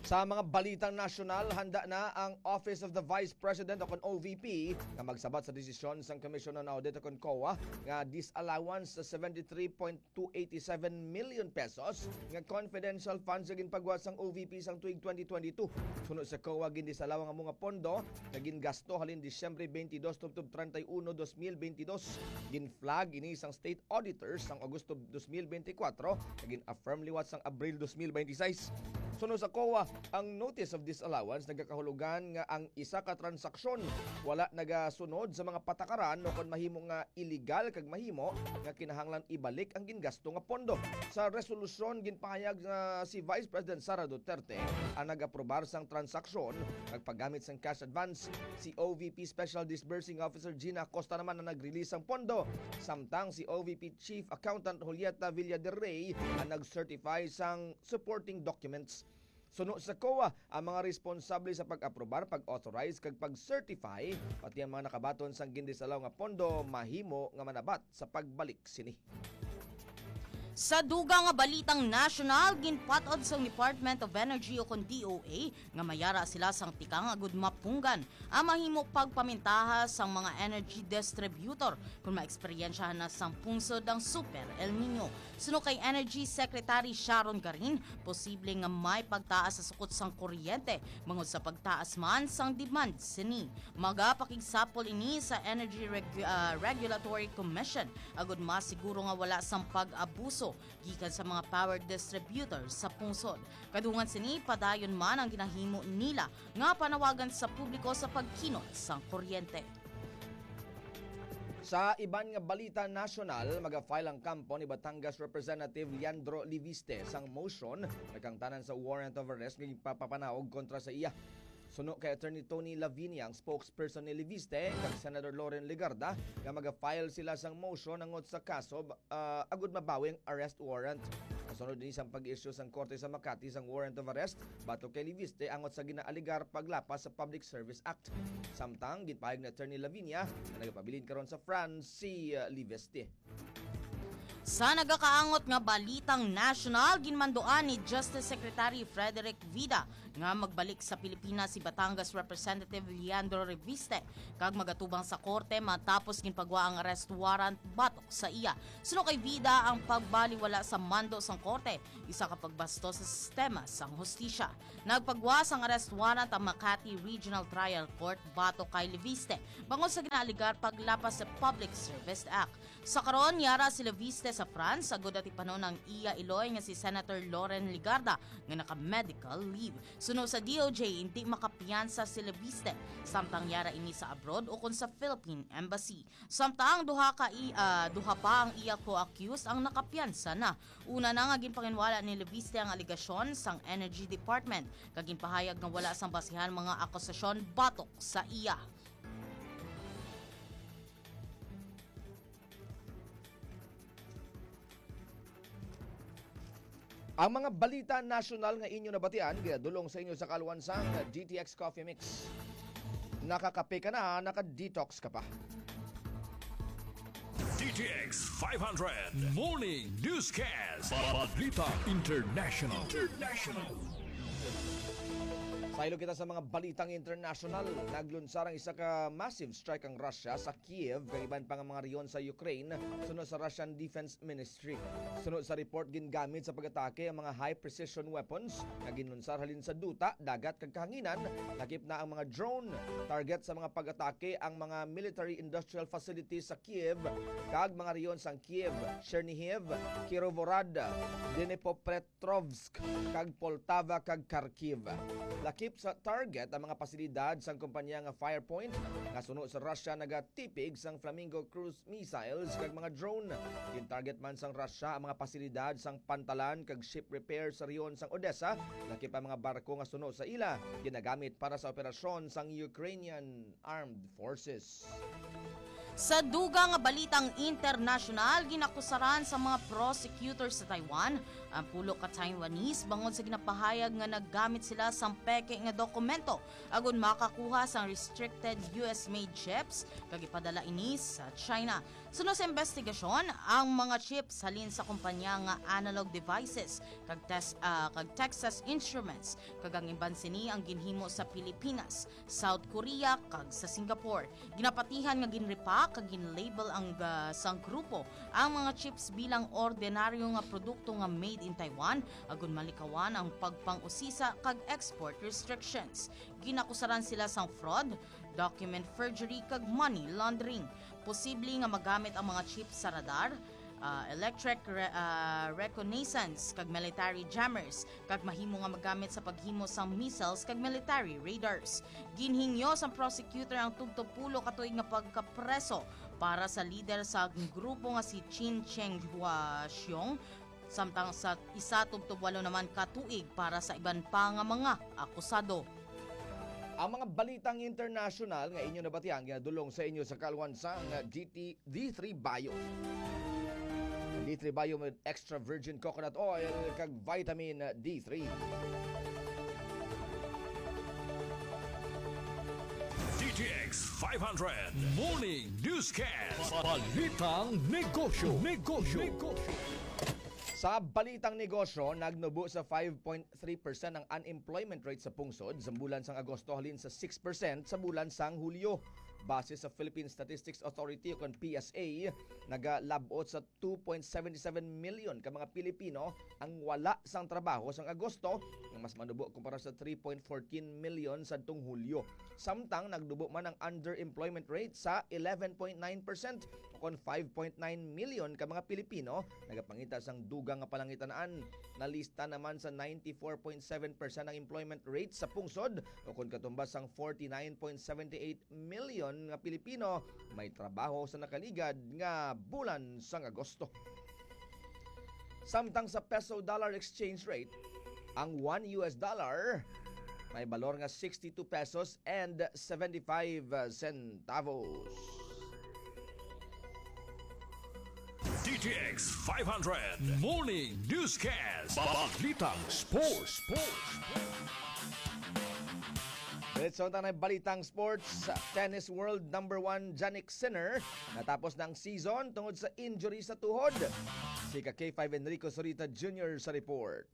Sa mga balitang nasyonal, handa na ang Office of the Vice President o kon O V P nga magsabat sa desisyon sang Commission on Audit o kon COA nga disallowance sa seventy-three point two eighty-seven million pesos nga confidential funds nga ginpagwa sang O V P sang tuig twenty twenty-two. Suno sa COA, gindisalaw ang amo nga pondo nga gingasto halin Disyembre twenty-two tubtob treinta y uno, dos mil bentidós. Gin-flag ini sang State Auditor sang Agosto dos mil bentikwatro, nga gin-affirm liwat sang Abril dos mil benti sais. Suno sa COA, ang Notice of Disallowance nagakahulugan nga ang isa ka transaksyon wala nagasunod sa mga patakaran o kon mahimo nga iligal kag mahimo nga kinahanglan ibalik ang gingasto nga pondo. Sa resolusyon, ginpahayag nga si Vice President Sara Duterte ang nag-aprobar sang transaksyon, nagpagamit sang cash advance. Si O V P Special Disbursing Officer Gina Acosta naman ang nag-release sang pondo, samtang si O V P Chief Accountant Julieta Villaderrey ang nag-certify sang supporting documents. Suno sa COA, ang mga responsable sa pag-aprobar, pag-authorize, kag pag-certify, pati ang mga nakabaton sang gindisalaw nga pondo, mahimo nga manabat sa pagbalik sini. Sa dugang nga balitang nasyonal, ginpat-od sang Department of Energy o kon D O E nga mayara sila sang tikang agud mapunggan ang mahimo pagpamintaha sang mga energy distributor kon maeksperyensyahan na sang pungsod ang Super El Nino. Suno kay Energy Secretary Sharon Garin, posible nga may pagtaas sa sukot sang kuryente bangod sa pagtaas man sang demand sini. Magapakigsapol ini sa Energy Regu- ah, Regulatory Commission agud masiguro nga wala sang pag-abuso gikan sa mga power distributor sa pungsod. Kadungan sini, padayon man ang ginahimo nila nga panawagan sa publiko sa pagkinot sang kuryente. Sa iban nga balita nasyonal, maga-file ang kampo ni Batangas Representative Leandro Leviste sang motion nagkangtanan sa warrant of arrest nga ginpapapanaog kontra sa iya. Suno kay Attorney Tony Lavinia, ang spokesperson ni Leviste, kag Senator Loren Legarda, nga maga-file sila sang motion hangot sa kaso, ah, agud mabawi ang arrest warrant. Sunod ini sang pag-issue sang korte sa Makati sang warrant of arrest batok kay Leviste angot sa ginaaligar paglapas sa Public Service Act. Samtang ginpahayag ni Attorney Lavinia nga nagapabilin karon sa France si uh, Leviste. Sa nagakaangot nga balitang nasyonal, ginmanduan ni Justice Secretary Frederick Vida nga magbalik sa Pilipinas si Batangas Representative Leandro Reviste kag magatubang sa korte matapos ginpagwa ang arrest warrant batok sa iya. Suno kay Vida, ang pagbaliwala sa mando sang korte isa ka pagbasto sa sistema sang hustisya. Nagpagwa sang arrest warrant ang Makati Regional Trial Court batok kay Leviste bangod sa ginaaligar paglapas sa Public Service Act. Sa karon, yara si Leviste sa France, agud atipanon ang iya iloy nga si Senator Loren Legarda nga naka-medical leave. Suno sa D O J, hindi makapiyansa si Leviste, samtang yara ini sa abroad ukon sa Philippine Embassy. Samtang duha ka i-, ah, duha pa ang iya co-accused ang nakapiyansa na. Una na nga ginpanginwala ni Leviste ang alegasyon sang Energy Department, kag ginpahayag nga wala sang basihan mga akusasyon batok sa iya. Ang mga balita nasyonal nga inyo nabatian ginadulong sa inyo sa kaluan sang D T X Coffee Mix. Nakakape ka na, naka-detox ka pa. D T X five hundred Morning Newscast. Balita International. International. Saylo kita sa mga balitang international. Naglunsar ang isa ka massive strike ang Russia sa Kiev kag iban pa nga mga rehiyon sa Ukraine, suno sa Russian Defense Ministry. Suno sa report, gingamit sa pag-atake ang mga high-precision weapons nga ginlunsar halin sa duta, dagat kag kahanginan, lakip na ang mga drone. Target sa mga pag-atake ang mga military industrial facilities sa Kiev kag mga rehiyon sang Kiev, Chernihiv, Kirovorad, Dnipropetrovsk, kag Poltava kag Kharkiv. Lakip sa target ang mga pasilidad sang kompanya nga Firepoint nga suno sa Russia nagatipig sang Flamingo cruise missiles kag mga drone. Gin-target man sang Russia ang mga pasilidad sang pantalan kag ship repair sa rehiyon sang Odessa, lakip ang mga barko nga suno sa ila ginagamit para sa operasyon sang Ukrainian Armed Forces. Sa dugang nga balitang internasyonal, ginakusaran sa mga prosecutor sa Taiwan ang pulo ka Taiwanese bangod sa ginapahayag nga naggamit sila sang peke nga dokumento agon makakuha sang restricted U S-made chips kag ipadala ini sa China. Suno sa investigasyon, ang mga chips halin sa kompanya nga Analog Devices kag Tes-, ah, kag Texas Instruments, kag ang iban sini ang ginhimo sa Pilipinas, South Korea, kag sa Singapore. Ginapatihan nga ginrepack kag ginlabel ang, ah, sang grupo ang mga chips bilang ordinaryo nga produkto nga made in Taiwan, agon malikawan ang pagpang-usisa kag export restrictions. Ginakusaran sila sang fraud, document forgery, kag money laundering. Posible nga magamit ang mga chips sa radar, ah, electric re-, ah, reconnaissance, kag military jammers, kag mahimo nga magamit sa paghimo sang missiles kag military radars. Ginhingyo sang prosecutor ang tubtob pulo ka tuig nga pagkapreso para sa lider sa grupo nga si Chin Cheng Huaxiong, samtang sa isa tubtob walo naman ka tuig para sa iban pa nga mga akusado. Ang mga balitang internasyonal nga inyo nabatian ginadulong sa inyo sa kaluan sang D T, D three Bio. D three Bio with extra virgin coconut oil kag vitamin D three. D T X five hundred Morning Newscast. Balitang negosyo. Negosyo. Negosyo. Sa balitang negosyo, nagnubo sa five point three percent ang unemployment rate sa pungsod sa bulan sang Agosto halin sa six percent sa bulan sang Hulyo. Base sa Philippine Statistics Authority o kon P S A, nagalab-ot sa two point seven seven million ka mga Pilipino ang wala sang trabaho sang Agosto, nga mas manubo kumpara sa three point fourteen million sadtong Hulyo. Samtang nagnubo man ang underemployment rate sa eleven point nine percent, o kon five point nine million ka mga Pilipino nagapangita sang dugang nga palangitan-an. Nalista naman sa ninety-four point seven percent ang employment rate sa pungsod, o kon katumbas sang forty-nine point seven eight million nga Pilipino may trabaho sa nakaligad nga bulan sang Agosto. Samtang sa peso-dollar exchange rate, ang one U S dollar may balor nga sixty-two pesos and seventy-five centavos. D T X five hundred Morning Newscast. Balitang Sports. Diretso na tayo ng balitang sports. Tennis world number one Jannik Sinner natapos na ang season tungod sa injury sa tuhod. Si ka K five Enrico Zurita Junior sa report.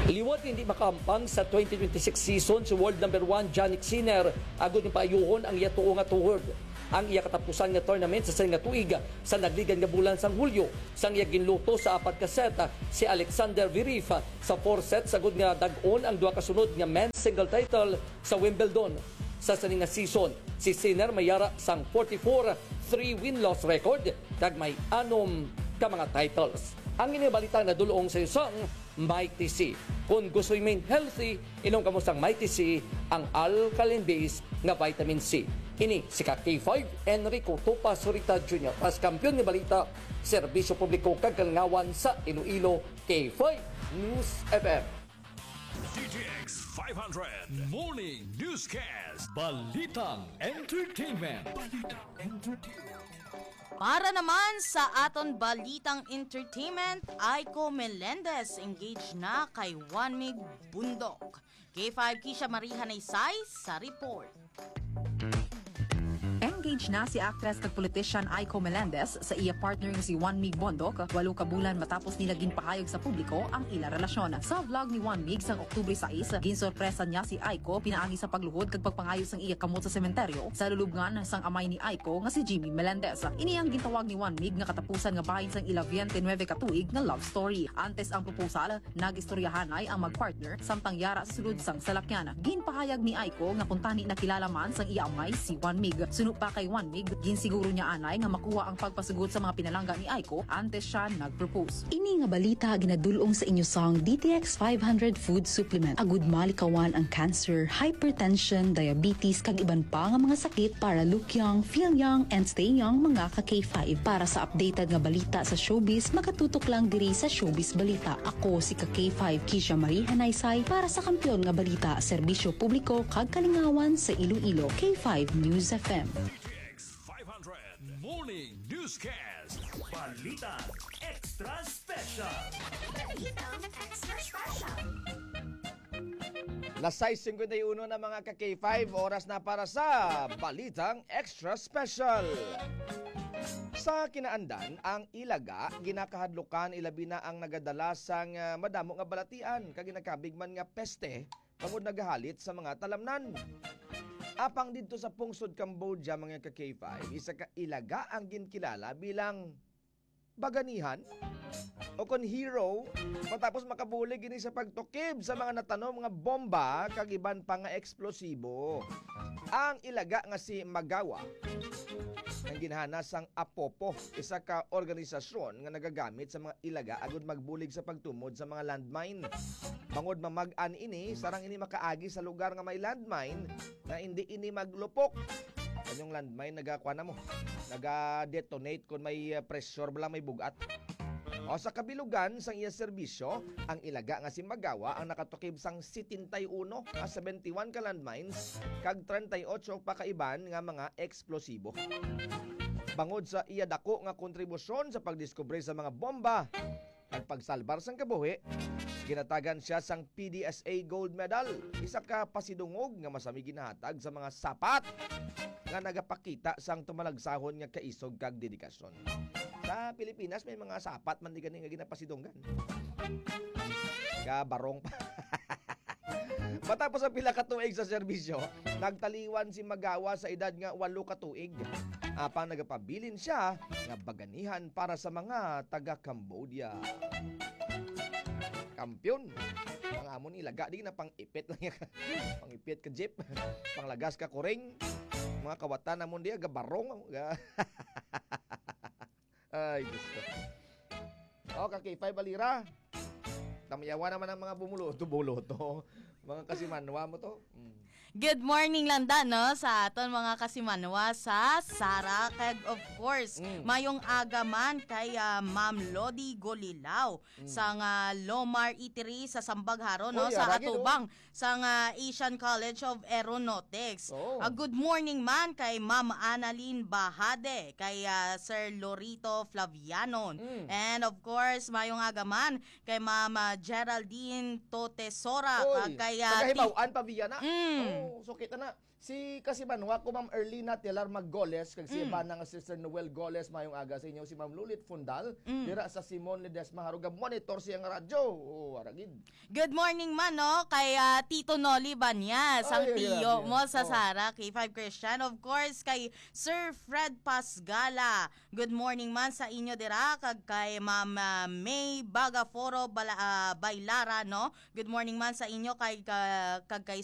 Liwat hindi makahampang sa twenty twenty-six season si world number one Jannik Sinner agod nga paayuhon ang iya tuo nga tuhod. Ang iya katapusan nga tournament sa sini nga tuig sa nagligan nga bulan sang Hulyo, sang iya ginluto sa apat ka set si Alexander Zverev sa four sets agod nga dag-on ang duha ka sunod nga men's single title sa Wimbledon. Sa sini nga season, si Sinner may yara sang forty-four three win-loss record kag may anom ka mga titles. Ang ini balita nadul-ong sa iyo sang Mighty C. Kung gusto remain healthy, inom kamo sang Mighty C, ang alkaline base nga vitamin C. Ini si ka K five Enrico Tupa Zurita Junior, as kampiyon nga balita, serbisyo publiko kag kalingawan sa Iloilo, K five News F M. D T X five hundred Morning Newscast. Balitang Entertainment. Balitang Entertainment. Para naman sa aton balitang entertainment, Aiko Melendez engaged na kay Juan Mig Bundok. K five Kisha Marie Hanaysay sa report. Engaged na si actress kag politician Aiko Melendez sa iya partner nga si Juan Mig Bondok, walo ka bulan matapos nila ginpahayag sa publiko ang ila relasyon. Sa vlog ni Juan Mig sang Oktubre sais, ginsorpresa niya si Aiko pinaagi sa pagluhod kag pagpangayo sang iya kamot sa sementeryo sa lulubngan sang amay ni Aiko nga si Jimmy Melendez. Ini ang gintawag ni Juan Mig nga katapusan nga bahin sang ila twenty-nine ka tuig nga love story. Antes ang proposal, nag-istoryahanay ang mag-partner samtang yara sa sulod sang salakyan. Ginpahayag ni Aiko nga kuntani nakilala man sang iya amay si Juan Mig. Suno pa kay Juan Mig, ginsiguro niya anay nga makuha ang pagpasugot sa mga pinalangga ni Aiko antes siya nag-propose. Ini nga balita ginadul-ong sa inyo sang D T X five hundred Food Supplement. Agud malikawan ang cancer, hypertension, diabetes, kag iban pa nga mga sakit, para look young, feel young, and stay young, mga ka K five. Para sa updated nga balita sa showbiz, makatutok lang diri sa Showbiz Balita. Ako si ka K five Kisha Marie Hanaysay para sa Kampiyon nga Balita, Serbisyo Publiko kag Kalingawan sa Iloilo, K five News F M. X five hundred Morning Newscast. Balita Extra Special. Balita Extra Special. Las sais cincuenta y uno na, mga ka K five, oras na para sa Balitang Extra Special. Sa Kinaandan, ang Ilaga ginakahadlukan, ilabi na ang nagadala sang, ah, madamo nga balatian kag ginakabig man nga peste tungod nagahalit sa mga talamnan. Apang didto sa pungsod Cambodia, mga ka K five, isa ka Ilaga ang ginkilala bilang baganihan o kon hero, matapos makabulig ini sa pagtukib sa mga natanom nga bomba kag iban pa nga eksplosibo. Ang Ilaga nga si Magawa ang ginhana sang Apopo, isa ka organisasyon nga nagagamit sa mga Ilaga agud magbulig sa pagtumod sa mga landmine. Bangod mamag-an ini, sarang ini makaagi sa lugar nga may landmine nga indi ini maglupok. Kanyang landmine, nagakuan na mo, naga-detonate kon may, uh, pressure bala, may bugat. O, sa kabilugan sang iya serbisyo, ang Ilaga nga si Magawa ang nakatukib sang setenta y uno, ah, seventy-one ka landmines kag treinta y ocho pa ka iban nga mga eksplosibo. Bangod sa iya dako nga kontribusyon sa pagdiskubre sa mga bomba, nagpagsalbar sang kabuhi, ginatagan siya sang P D S A Gold Medal, isa ka pasidungog nga masami ginahatag sa mga sapat nga nagapakita sang tumalagsahon nga kaisog kag dedikasyon. Sa Pilipinas, may mga sapat man di gani nga ginapasidunggan. Kabarong pa. Matapos ang pila ka tuig sa serbisyo, nagtaliwan si Magawa sa edad nga walo ka tuig. Apang nagapabilin siya nga baganihan para sa mga taga Cambodia. Kampiyon. Ang amon Ilaga, di na pang-ipit lang yan. Pang-ipit ka jeep. Panglagas ka kuring. Mga kawatan namon diya, gabarong. Ga- Ay, Diyos ko. O, ka K five Balira. Tamayawa naman ang mga bumuloto-buloto. Mga kasimanwa mo to. Mm. Good morning lang da, no, sa aton mga kasimanwa sa Sara. Kag, of course, Mm. mayong aga man kay ah, Ma'am Lodi Golilao Mm. sang ah, Lomar Eatery sa Sambag Haro, no, Oy, sa aragid, oh. atubang sang ah, Asian College of Aeronautics. Oh. Ah, good morning man kay Ma'am Annalyn Bahade, kay ah, Sir Lorito Flavianon. Mm. And of course, mayong aga man kay Ma'am ah, Geraldine Totesora, Oy, kag kay ah, taga Hibaw-an pa biya na. Mm. Oh, so kita na. Si kasimanwa ko, Ma'am Erlina Telar Maggoles, kag si Mm. Ivana nga Sister Noel Goles, mayong aga sa inyo. Si Ma'am Lulit Fundal, Mm. dira sa Simon Ledesma, Haruga, monitor siya nga radyo. Oh, aragid. Good morning man, no, kay ah, Tito Noli Banyas, ang Ay, ay, tiyo grabe. mo sa Oh. Sara K five Christian. Of course, kay Sir Fred Pasgala. Good morning man sa inyo dira, kag kay Ma'am ah, May Bagaforo Bala, ah, Bailara, no. Good morning man sa inyo kay ka- kag kay